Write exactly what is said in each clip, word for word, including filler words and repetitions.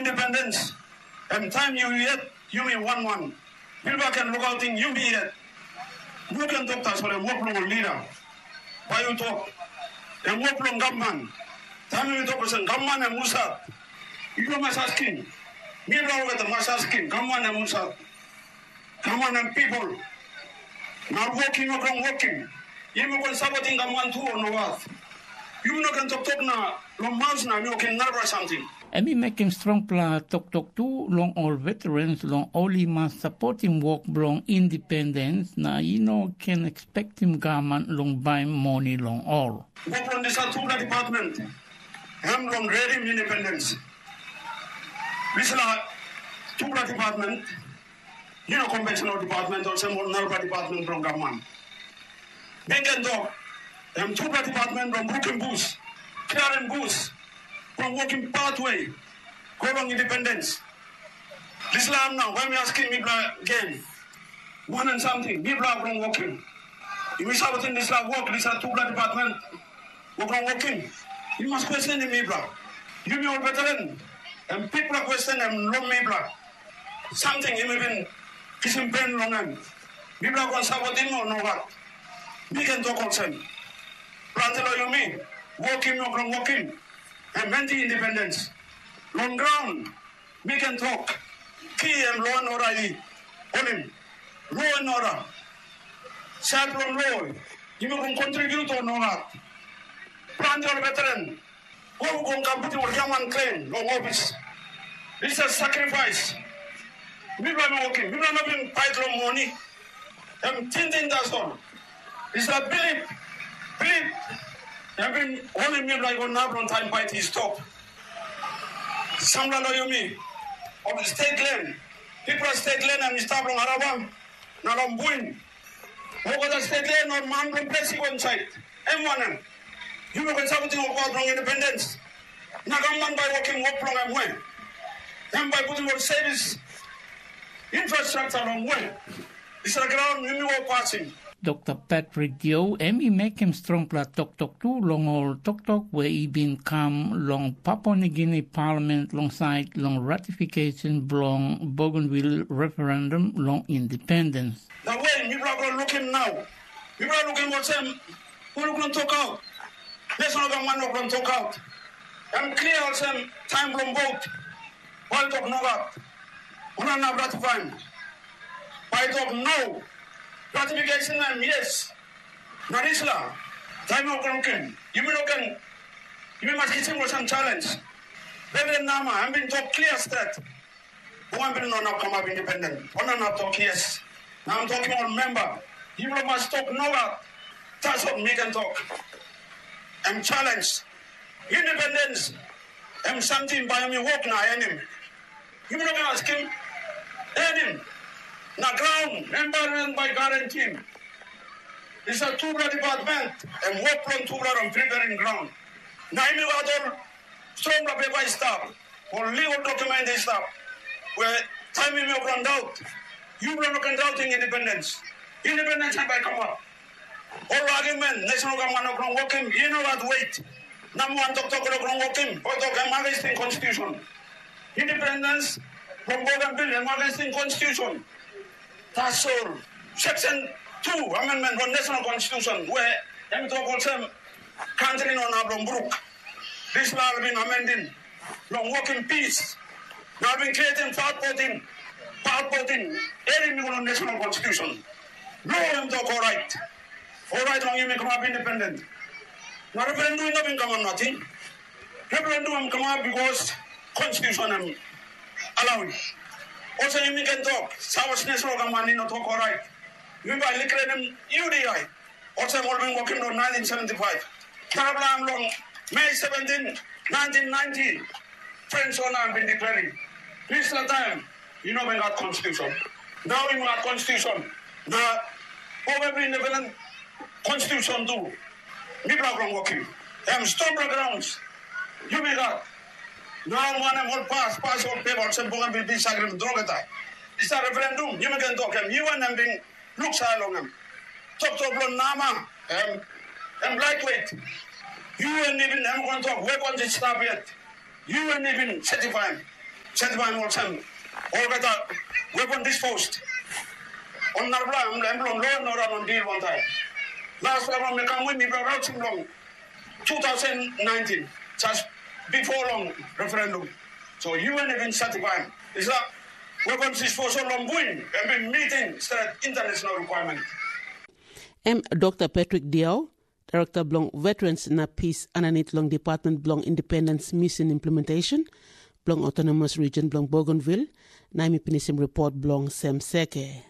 Independence, em taim yu yet, yumi wan wan. Bilba ken lukautim yumi yet. Yu ken tok tasol em wok bilong ol lida. Bai yu tok, em wok bilong gavman. Taim yumi tok olsem, gavman em husat? Yu mas askim. Mipela olgeta mas askim, gavman em husat? Gavman em pipel. Na wokim yu ken wokim. Yumi ken sapotim gavman tu o nogat? Yu no ken toktok na long maus na mi wokim narapela samting. Em i mekim strongpela toktok tu long ol veterans long ol i mas sapotim wok bilong indipendens na i no ken ekspektim gavman long baim moni long ol. Wok bilong dispela tupela department, em long redim indipendens. Dispela tupela department, yu no kompensel ol department olsem ol narapela department bilong gavman. Mi ken tok, em tupela department bilong brukim bus, kliarim bus, bilong wokim patwe go long indipendens. Dispela nau, bai mi askim mipela gen, wanem samting mipela bilong wokim? Yumi sapotim dispela wok, dispela tupela department wok long wokim? Yu mas kwestenim mipela. Yumi ol veteran, em bikpela kwesten em long mipela. Samting yumi bin kisim pen long em, mipela ken sapotim o nogat? Mi ken tok olsem, planti long yumi wokim wok long wokim, em anti indipendens. Long graun, mi ken tok, ki em lo and oda i holim. Lo and oda, sait bilong lo, yumi ken kontribut o nogat? Planti ol veteran, ol ken kam putim ol yangman klen long ofis. Dispela sakrifais mipela bin wokim, mipela no bin pait long moni. Em tingting tasol. Dispela bilip, bilip, em bin holim mipela i go nap long taim pait i stop. Sampela long yumi, ol stet len, bikpela stet len em i stap long Araba na long Buin. Olgeta stet len ol man bilong ples i go insait. Em wanem? Yumi ken sapotim ol wok bilong indipendens. Na gavman bai wokim wok bilong em we? Em bai putim ol sevis infrastruktur long we? Dispela graun yumi wok pasim. Dokta Patrick Dio em i mekim strongpela toktok tu long ol toktok we i bin kam long Papua Nigini Palament long sait long ratifikasyon bilong Bougainville referendum long independens. Na we mipela go lukim nau, mipela lukim olsem, wok bilong tokaut, dispela gavman wok bilong tokaut, em klia olsem taim bilong vot, bai tok nogat, ol inap ratifaim, bai tok no, ratifikasyon em yes. Na dispela taim wok bilong lukim, yumi no ken, yumi mas kisim olsem challenge. Reverend Nama, em bin tok klia stret, Bougainville no inap kamap independent, ol no inap tok yes. Na em tokim ol memba, yupela mas tok nogat, tasol mi ken tok. Em challenge. Independence, em samting bai em i wok na enim. Yumi no ken askim enim. Na graun, environment bai garantim. Dispela tupela department, em wok bilong tupela long preparing graun. Na em i gat ol strongpela pepa i stap, ol legal document i stap, we taim yumi ol daut, yupela no ken dautim independence. Independence em bai kamap. Ol argument, national government no ken wokim, i no gat weight. Namba wan toktok no ken wokim, ol tok em against constitution. Independence from Bougainville em against constitution. Tasol, section two amendment long national constitution, we em tok olsem, kantri no inap long bruk. Dispela ol bin amendim long wokim pis. Na ol bin creatim part fourteen, part fourteen, erim i go long national constitution. Lo em tok orait, orait long yumi kamap independent. Na referendum i no bin kamap nating. Referendum em kamap because constitution em allow. Olsem yumi ken tok, South National Government i no tok orait. Yumi bai likrenim U D I. Olsem ol bin wokim long nineteen seventy-five. Narapela em long May seventeen, nineteen ninety, French ol na bin declaring. Dispela taim, i no bin gat constitution. Nau i gat constitution. Na ol bin independent constitution tu. Mipela bilong wokim. Em stone grounds. Yumi gat. Nau wanem ol pas, pas ol pepa olsem Bougainville bin sakrifis olgeta. Dispela referendum, yumi ken tok em, U N em bin luksave long em. Toktok bilong Nama, em, em lightweight. U N i bin em ken tok, weapons i stap yet. U N i bin setifaim. Sentibaim olsem, olgeta weapon disposed. Ol narapela em em long lo no ran on deal wantaim. Last time mi kam win mi bra rautim long two thousand nineteen, just before long referendum. So U N even sentibaim. Is that weapons disposal long win and been meeting straight international requirement. Em Dr Patrick Diau, Direkta bilong Veterans na Pis aninit long Department bilong Independence Mission Implementation bilong Autonomous Region bilong Bougainville, na em i pinisim ripot bilong Sem Seke.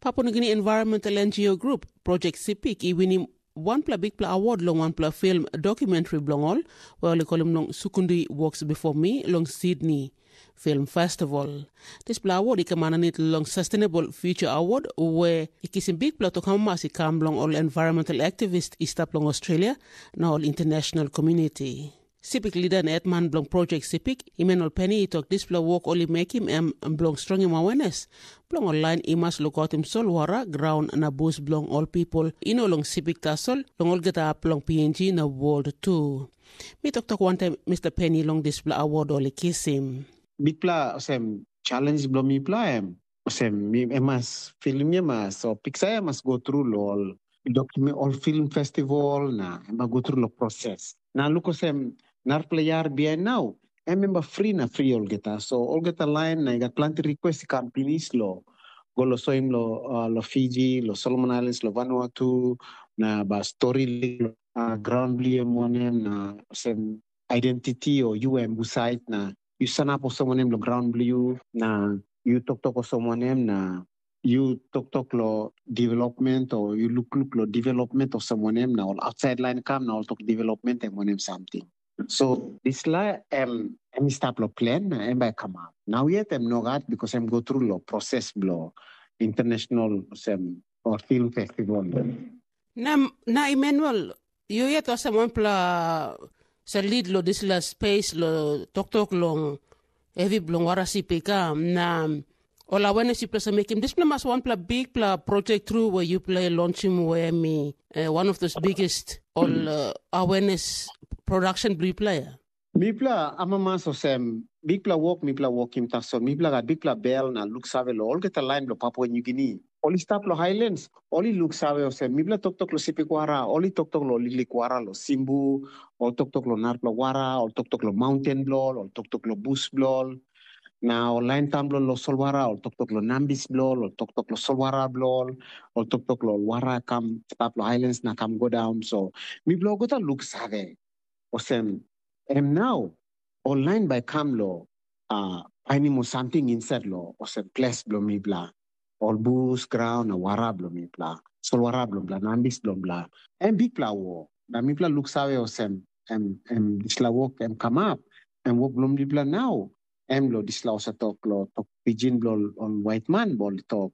Papua Nugini Environmental N G O Group, Project Sipik, i winim wanpela bikpela award long wanpela film dokumentari bilong ol, we ol i kolim long Sukundi Walks Before Me long Sydney Film Festival. Dispela award i kam aninit long Sustainable Future Award, we i kisim bikpela tok amamas i kam long ol environmental activist i stap long Australia na ol international community. Sipik lida na hetman bilong Project Sipik, Emmanuel Penny, i tok dispela wok ol i mekim em bilong strongim awenes bilong ol lain i mas lukautim solwara, graun na bus bilong ol pipel i no long Sipik tasol, long olgeta hap bilong P N G na world tu. Mi toktok wantaim Mr Penny long dispela award ol i kisim. Bikpela olsem challenge bilong mipela em olsem mi em mas filim em mas o piksa em mas go tru long ol document ol film festival na em go tru long proses. Na luk olsem narpela yar bihain nau em em fri na fri olgeta. So olgeta lain na i gat planti request i kam pinis lo go lo soim lo uh, lo Fiji, lo Solomon Islands, lo Vanuatu, na ba story lo uh, ground biliem wanem na sem identity o yu em husait na yu sanap olsem wanem lo ground bilong yu na yu toktok olsem wanem na yu toktok lo development o yu lukluk lo development olsem wanem na ol outside line kam na ol tok development em wanem something. So dispela em em i stap lo plan na em bai kamap. Nau yet em nogat because em go tru lo proses bilong international sem or film festival. Na, na Emmanuel, yu yet olsem wanpela sa lead lo dispela space lo toktok long hevi bilong warasip i kam na ol awareness yupela sa mekim dispela mas wanpela bikpela project tru we yupela i launchim we mi uh, one of those biggest ol uh, awareness production bilong yupela ya. Mipela amamas olsem bikpela wok mipela wokim tasol mipela gat bikpela bel na luksave long olgeta lain bilong Papua Nugini. Ol i stap long Highlands, ol i luksave olsem mipela toktok long Sipikwara, ol i toktok long Lilikwara, long Simbu, ol toktok long narpela wara, ol toktok long maunten bilong ol, ol toktok long bus bilong ol. Na ol lain taun bilong ol long solwara, ol toktok long nambis bilong ol, ol toktok long solwara bilong ol, ol toktok long wara kam stap long Highlands na kam go daun. So mipela olgeta luksave olsem em nau ol lain bai kam long uh, painim ol samting insait long olsem ples bilong mipela, ol bus, graun na wara bilong mipela, solwara bilong mipela, nambis bilong mipela, em bikpela wok. Na mipela luksave olsem em, em dispela wok em kamap, em wok bilong mipela nau, em long dispela olsem tok long tok pijin bilong ol waitman ol tok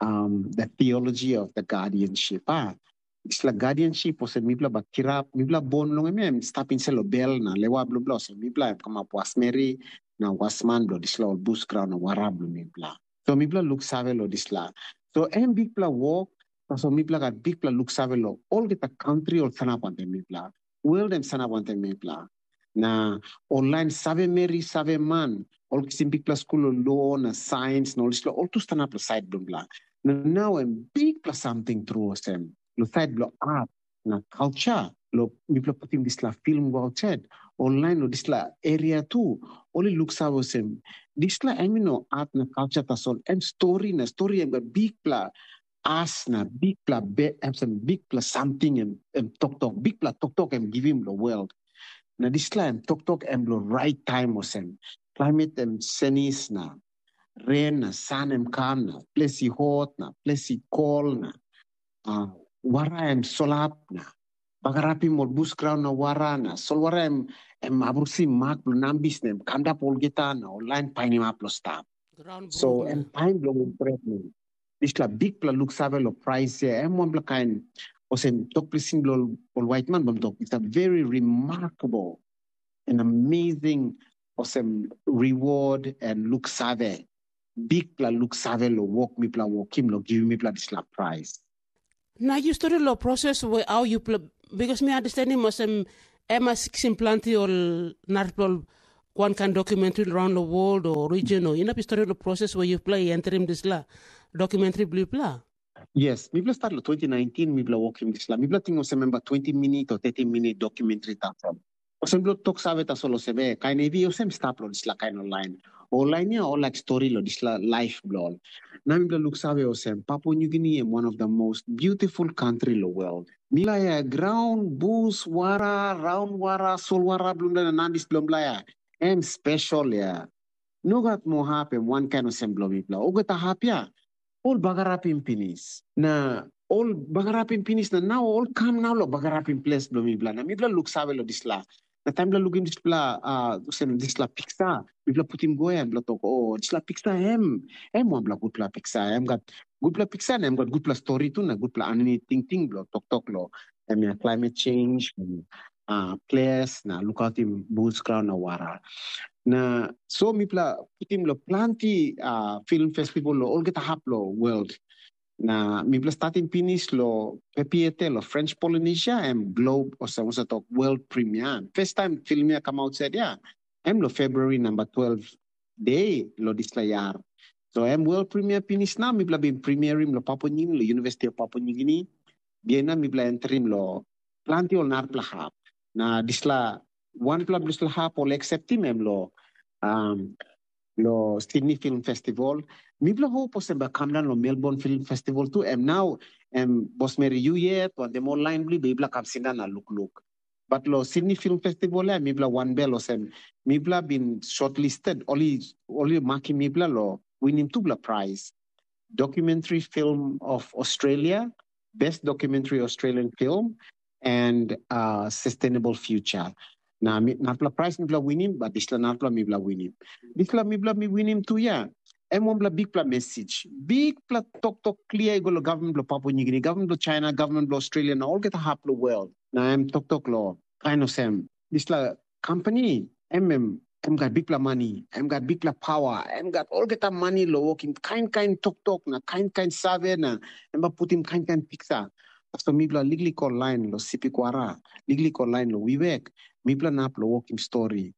um, the theology of the guardianship. Ah. Dispela guardianship olsem mipela bai kirap, mipela bon long em em stap insait long bel na lewa bilong bla olsem mipela em kamap wasmeri na wasman bilong dispela ol bus graun na wara bilong mipela. So mipela luksave long dispela. So em bikpela wok, tasol mipela gat bikpela luksave long olgeta kantri ol sanap wantaim mipela. World em sanap wantaim mipela. Na ol lain save meri, save man, ol kisim bikpela skul long lo na sains na ol dispela ol tu stanap long sait bilong mipela. Na nau em bikpela samting tru olsem, long sait bilong art na culture, long mipela putim dispela film go outside, ol lain long dispela area tu, ol i luksave olsem, dispela em i no art na culture tasol, em stori na stori em gat bikpela as na bikpela be, em sem bikpela samting em, em toktok, bikpela toktok em givim long world. Na dispela em toktok em long rait taim olsem, climate em senis na ren na san em kam na ples i hot na ples i kol na uh, wara em solap na bagarapim ol bus graun na wara na solwara em em abrusim mak bilong nambis na em kamdap olgeta na ol lain painimap long stap. So em taim bilong ol pret na dispela bikpela luksave long prais ya em wanpela kain olsem tok plising bilong ol waitman bilong tok it's a very remarkable and amazing olsem reward and luksave, bikpela luksave long wok mipela wokim long givim mipela dispela prais. Na yu stori long proses we au yupela, bikos mi understandim olsem em mas kisim planti ol narapela ol wan kain dokumentri raun long world o region o inap i stori long proses we yupela i entrim dispela dokumentri bilong yupela? Yes, mipela start long twenty nineteen, mipela wokim dispela. Mipela ting olsem memba twenty minit o thirty minit dokumentri tasol. Olsem bilong tok save tasol olsem, eh, kain hevi olsem stap long dispela kain ol lain. Ol lain ya ol laik stori long dispela laif bilong ol. Na mipela luk save olsem, Papua New Guinea em one of the most beautiful country long world. Mipela ya graun, bus, wara, raun wara, solwara bilong na nandis bilong mipela ya, em spesial ya. No gat moa hap em wankain olsem bilong mipela. Olgeta hap ya, ol bagarapim pinis. Na ol bagarapim pinis na nau ol kam nau long bagarapim ples bilong mipela. Na mipela luk save long dispela. Na taim mipela lukim dispela, uh, olsem dispela piksa, mipela putim go em, mipela tok, oh, dispela piksa em, em wanpela gutpela piksa, em gat gutpela piksa na em gat gutpela stori tu na gutpela aninit tingting bilong toktok long em ya climate change, uh, ples na lukautim bus, graun na wara. Na so mipela putim long planti, uh, film festival long olgeta hap long world. Na mipela statim pinis long Papeete long French Polynesia, em Globe, olsem olsem tok world premiere. First time film ya kam outside ya, em long February number twelve day long dispela yar. So em world premiere pinis na mipela bin premierim long Papua New Guinea, long University of Papua New Guinea. Bihain na mipela entrim long planti ol narapela hap. Na dispela wanpela dispela hap ol acceptim em long, um, long Sydney Film Festival. Mipela hope olsem bai kam daun long Melbourne Film Festival tu. Em nau em bosmeri yu yet, wantaim ol lain bilong mipela kam sindaun na lukluk. But long Sydney Film Festival ya mipela wanbel olsem mipela bin shortlisted, ol i ol i makim mipela long winim tupela prais. Documentary Film of Australia, Best Documentary Australian Film, and uh, Sustainable Future. Na mi- narapela prais mipela winim, but dispela narapela mipela winim. Dispela mipela mi winim tu ya, em wanpela bikpela message. Bikpela toktok klia i go long government bilong Papua New Guinea, government bilong China, government bilong Australia, na olgeta hap long world. Na em toktok long kain olsem, dispela company, em em em gat bikpela mani, em gat bikpela pawa, em gat olgeta mani long wokim kain kain toktok na kain kain save na em bai putim kain kain piksa. Tasol mipela liklik ol lain long Sipikwara, liklik ol lain long Wewak, mipela nap long wokim stori.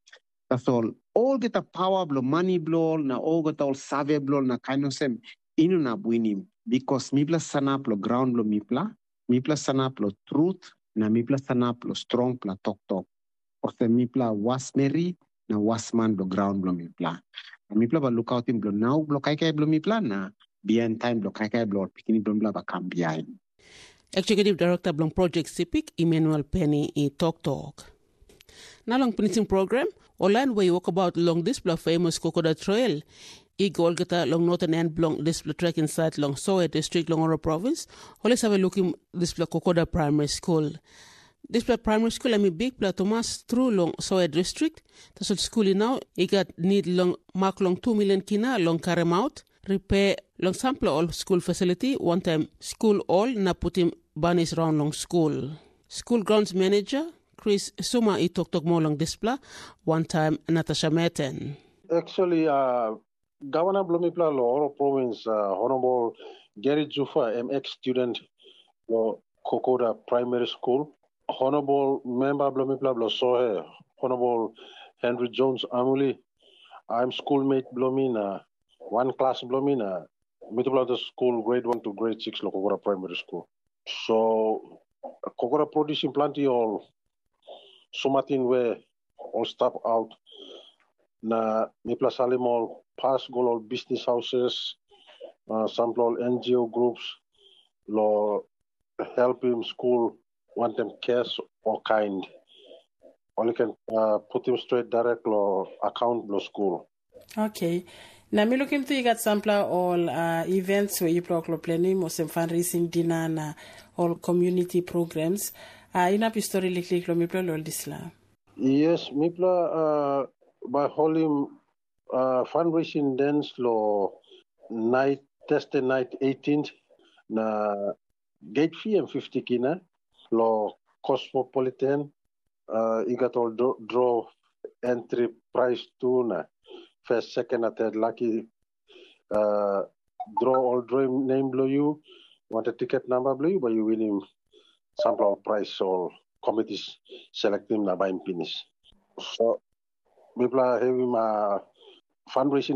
Tasol olgeta pawa bilong mani bilong ol na olgeta ol save bilong ol na kain olsem i no inap winim, bikos mipela sanap long graun bilong mipela, mipela sanap long trut, na mipela sanap long strongpela toktok. Olsem mipela wasmeri na wasman bilong graun bilong mipela. Na mipela bai lukautim bilong nau bilong kaikai bilong mipela na bihain taim bilong kaikai bilong ol pikinini bilong mipela bai kam bihain. Executive Director bilong Project Sipik, Emmanuel Penny, i toktok. Na long pinisim program, ol lain we i wokabaut long dispela famous Kokoda Trail i go olgeta long northern end bilong dispela trek insait long Soe distrik long Oro provins, ol i save lukim dispela Kokoda Primary School. Dispela primary school em i bikpela tumas tru long Soe distrik, tasol skul i nau i gat nid long mak long tu milion kina long karemaut, ripe long sampela ol skul fasiliti, wantaim skul ol na putim banis raun long skul. Skul grounds manager Chris Suma i toktok moa long dispela, wantaim Natasha Meten. Actually, uh, gavana bilong mipela long Oro provins, uh, Honorable Gary Jufa, em ex student long Kokoda Primary School. Honorable member bilong mipela bilong Sohe, Honorable Henry Jones Amuli, I'm schoolmate bilong mi na wan klas bilong mi na mitupela ol skul grade one to grade six long Kokoda Primary School. So Kokoda produsim planti ol sumatin we ol stap aut na mipela salim ol pas go long ol business houses, uh, sampela ol N G O groups long helpim skul wantaim cash o kind. Ol i ken uh, putim stret direct long account bilong skul. Okay. Na mi lukim tu i gat sampela ol uh, events we yupela ol planim olsem fundraising dinner na ol community programs. Uh, inap i stori liklik long mipela long dispela. Yes, mipela uh, by holim uh, fundraising dance lo night Thursday night eighteenth na gate fee em fifty kina lo Cosmopolitan. Uh, i gat ol draw entry price tu na first, second na third lucky uh, draw ol draw name bilong yu, wanted ticket number bilong yu, bai yu winim sampela ol price ol committees selectim na baim pinis. So mipela havim uh, fundraising